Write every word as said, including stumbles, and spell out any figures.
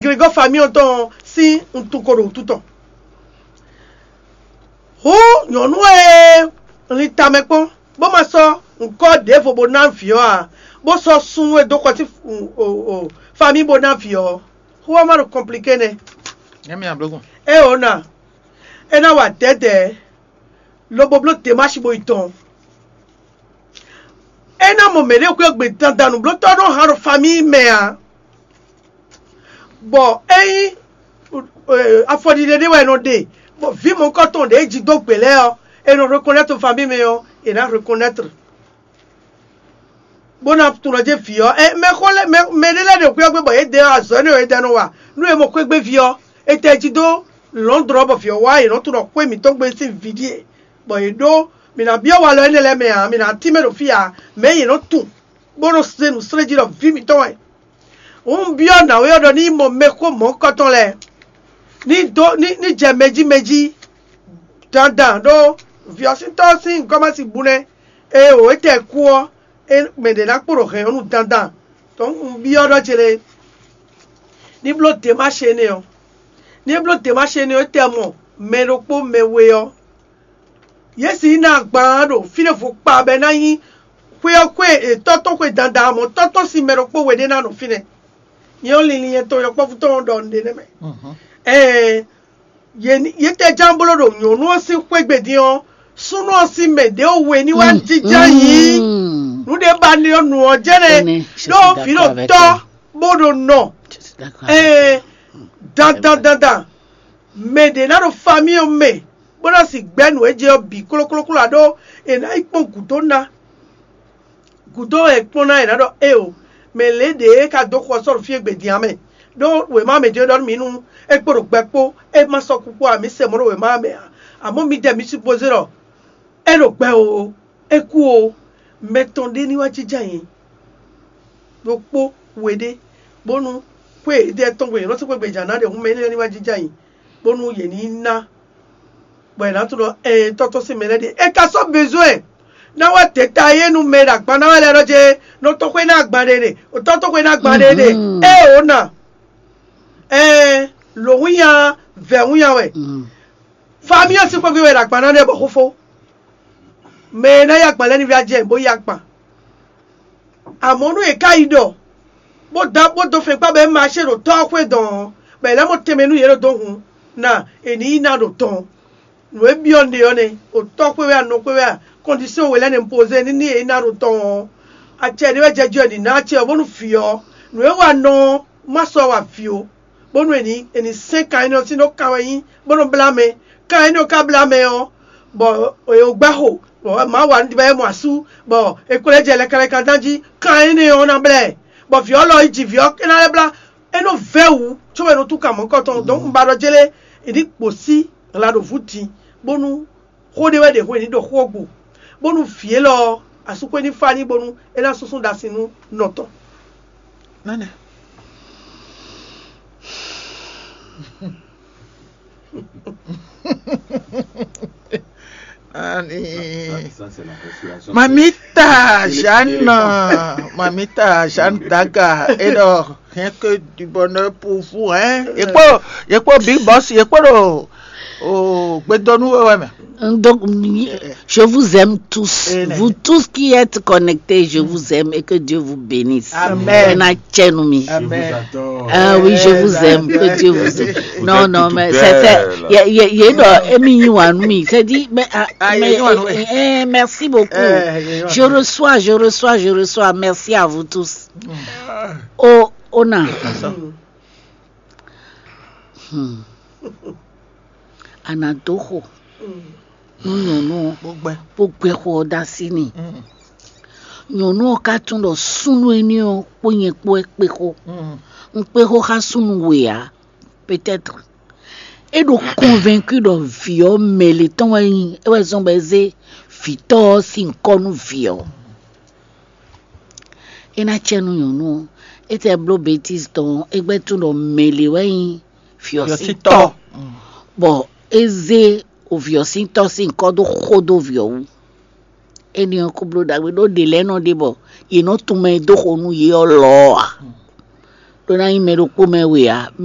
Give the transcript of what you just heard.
Gregɔ́ famíɔ tɔn sín wuntun ko ɖo wútu tɔn. Hǔn nyɔ̌nu e lin tamɛ kpɔ́n, bó ma sɔ́ ŋkɔ́ ɖěvo bó ná vǐ ɔ́ ǎ, bó sɔ́ súnnu e dó xɔ sín famíi bó ná vǐ ɔ́, xó ɔ́ ma ɖo kɔnpliké nɛ́. Nyɛ mi ablɔ́gún. Ée ǒ na, é ná wa dɛ̌dɛ̌, lobo bló Demási bó yi tɔn. É ná mɔ mɛ̌ ɖě xwé gbe dandan nǔblótɔ́ nɔ han ɖo famíi mɛ ǎ. Bɔ ényí afɔɖiɖe ɖé wɛ è nɔ ɖe, bɔ vǐ mɔ̌hunkɔtɔn ɖě jí dó gbě lɛ́ɛ ɔ́, è nɔ reconnaître famille mɛ ɔ́, è nǎ reconnaître. Bó ná tunɔ jɛ vǐ ɔ́, ɛ mɛ xó lɛ́ɛ mɛ mɛ ɖé lɛ́ɛ ɖo xwé ɔ́ gbe bɔ yě dɛ azɔ̌ énɛ́ ɔ́ yě dɛ nɔ wa. Nú è mɔ xwé gbe vǐ ɔ́, è tɛ jí dó Londres bɔ vǐ ɔ́ wá, è nɔ tunɔ xwé mǐtɔn gbe sín vǐ ɖíe, bɔ yě ɖó mǐ ná byɔ́ walɔ énɛ́ lɛ́ɛ mɛ ǎ, mǐ ná tínmɛ ɖo fí ǎ, mɛ̌ yě nɔ tunwun, bó nɔ se nǔ slé jí ɖɔ vǐ mǐtɔn wɛ. Un byɔ́ nǎwe ɔ́ ɖɔ ní yi mɔ mɛxó mɔ̌hunkɔtɔn lɛ́ɛ, ní dó ní ní jɛ mɛ jí mɛ jí dandan ɖó vǐ ɔ́ sín tɔ́ ɔ́ sín gɔ́ ma sixú bu nɛ́. Ée wǒ é tɛ kú ɔ́, é mɛ ɖě ná kpo ɖo hɛ̌n ɔ́ nu dandan. Tɔn un byɔ́ ɖɔ ce lé, ní bló Demási énɛ́ ɔ́, ní é bló Demási énɛ́ ɔ́, é tɛ mɔ mɛ ɖokpó mɛ we ɔ́, yě sixú ná agban ɖo fí ɖěvo kpa bɔ é ná nyí xwé ɔ́ xwé tɔ́ tɔn xwe dandan, mɔ̌ tɔ́ tɔn sín mɛ ɖokpó we ɖé ná nɔ fínɛ́. Nyɛ ɔ́, linlin nyɛ tɔn yɔkpɔ́vú tɔn ɖɔ nǔɖé nɛ́ mɛ. Ɛɛ, yě tɛ ján bló ɖo nyɔ̌nu ɔ́ sín xwé gbe din ɔ́, súnnu ɔ́ sín mɛ ɖě we ní wá jínjɔ́n yǐ. Nǔ ɖé ba nɔ nǔ ɔ́ jɛ́nɛ ɖó vǐ ɖo tɔ́ bó ɖo nɔ. Ɛɛ, dandan dandan, mɛ ɖě ná ɖo famíɔ mɛ bó ná si gbɛ́ nǔ e jɛ ɔ́ bǐ klóklókló ǎ ɖó è nǎ yi kpɔ́n gǔdo ná. Gǔdo wɛ è kpɔ́n ná è nǎ ɖɔ éeǒ, mɛ lě ɖě e ka dó xɔ sɔ́ ɖo fí e gbe din ǎ mɛ. Ɖó wěma mɛ jɛ́n ɖɔ nú mǐ nú é kpo ɖo gbɛ kpó, é ma sɔ́ kú kpó ǎ, mǐ se mɔ̌ ɖo wěma mɛ ǎ. Amɔ̌ midɛɛ mi supozé ɖɔ é ɖo gbɛ oo, é kú oo, mɛ tɔn ɖé ní wá jínjɔ́n ayǐ ɖokpó we ɖé, bónú xwé e ɖɛ tɔn gbe yě nɔ sɔ́ xwé gbe jǎ ná ɖe hǔn mɛ énɛ́ ní wá jínjɔ́n ayǐ, bónú yě ní ná bɔ è nǎ tunɔ ɛɛ tɔ́tɔ́ sín mɛ lɛ́ɛ ɖe. È ka sɔ́ bezwɛn ná wá dě ta yé nú mɛ e ɖo agban ná wɛ lɛ́ɛ ɖɔ jɛ nɔ tɔ́ xwé ná agban ɖe ɖe, tɔ́ tɔ́ xwé ná agban ɖe ɖe. Ée ò na ɛɛ lǒ wínnya vɛ̌ wínnya wɛ. Famíɔ sín xwéví wɛ è ɖo agban ná ɖe bɔ xófó. Mɛ e ná yí agban lɛ́ɛ ní vɛ́ jɛ bó yí agban. Amɔ̌ nú è ká yi ɖɔ bó dó bó dó fɛ́nkpá bɔ é maṣé ɖo tɔ́ ɔ́ xwé dɔn ɔ́, bɔ è lɛ́ mɔ tɛnmɛ nú yě ɖo dó hun ná è ní yi ná ɖo tɔn. Nǔ e byɔ́ un ɖe ɔ́ nɛ́, o tɔ́ xwé wɛ a, nɔ xwé wɛ a, kɔndisɔ́n we lɛ́ɛ nɛ́ un pozé ní ní è yi ná ɖo tɔn ɔ́, acɛ ɖé wɛ jɛ jí ɔ nǐ ná acɛ ɔ́ bónú vǐ ɔ́, nǔ e wa nɔ ɔ́ má sɔ́ wa vǐ ó, bónú è nǐ è nǐ sɛ́n kan énɛ́ ɔ́ sín ɖó kan wɛ nyí bó nɔ blá mɛ. Kan énɛ́ ɔ́ ka blá mɛ ɔ́, bɔ è wǒ gbɛ́ xo, bɔ Mawu wa nǔ ɖi bɔ é mɔ asú, bɔ è kplɔ́n ɛ jɛ lɛkɛlɛkɛ dán jí, kan énɛ́ ɔ́ ná blá ɛ, bɔ vǐ ɔ́ lɔ yi ji vǐ ɔ́ é ná lɛ́ blá. É nɔ vɛ́ wǔ cóbɔ è nɔ tú kan mɔ̌hunkɔtɔn. Donc un ba ɖɔ jélé è ní kpo sí hla ɖo vǔ din, bónú xó ɖé wɛ ɖe hwenu ní ɖo xó ɔ́ gbo, bónú vǐ élɔ́ ɔ́, asúxwé ní fá ní bónú é ná súnsún ɖasin nú nɔ tɔn. Nánɛ. Ani. Mamita Jeanne, Mamita Jeanne Daga, et donc, rien que du bonheur pour vous, hein. Et quoi, et quoi, Big Boss, et quoi, oh, oh, Gbedonu, ouais, ouais, mais. Donc, je vous aime tous. Eh, vous tous qui êtes connectés, je vous aime et que Dieu vous bénisse. Amen. Ena tchenu mi. Amen. Ah oui, je vous aime, que Dieu vous aime. Non, non, mais c'est, c'est, il y a, il y a, il y a une, euh, émi yi wa nu mi. C'est dit, mais, ah, ah, mais, eh, eh, merci beaucoup. Eh, je reçois, je reçois, je reçois. Merci à vous tous. Oh, on a. Hmm. A nǎ dó xo nú nyɔ̌nu ɔ́, bó gbɛ xo ɔ́ dó así n'i. Nyɔ̌nu ɔ́ ka tunwun ɖɔ súnnu énɛ́ ɔ́ kpó nyɛ kpó wɛ kpé xó. Un kpé xó xá súnnu we ǎ, peut-être. É ɖo convaincu ɖɔ vǐ ɔ́ mɛ lě tɔn wɛ nyí, é wɛ zɔ́n bɔ é zé vǐtɔ́ ɔ́ sín nyǐkɔ nú vǐ ɔ́. É ná cɛ nú nyɔ̌nu ɔ́, é tɛ bló bêtízi tɔn ɔ́, é gbɛ́ tunwun ɖɔ mɛ lě wɛ nyí vǐ ɔ́ sín tɔ́, bɔ é zé vǐ ɔ́ sín tɔ́ sín nyǐkɔ dó xo dó vǐ ɔ́ wú. Énɛ́ ɔ́, kó bló ɖagbe ɖó ɖě lɛ́ɛ nɔ ɖe bɔ yě nɔ tunwun mɛ e dó xo nú yě ɔ́ lɔ ɔ́ ǎ. Ɖó ná nyí mɛ ɖokpó mɛ we ǎ, mɛ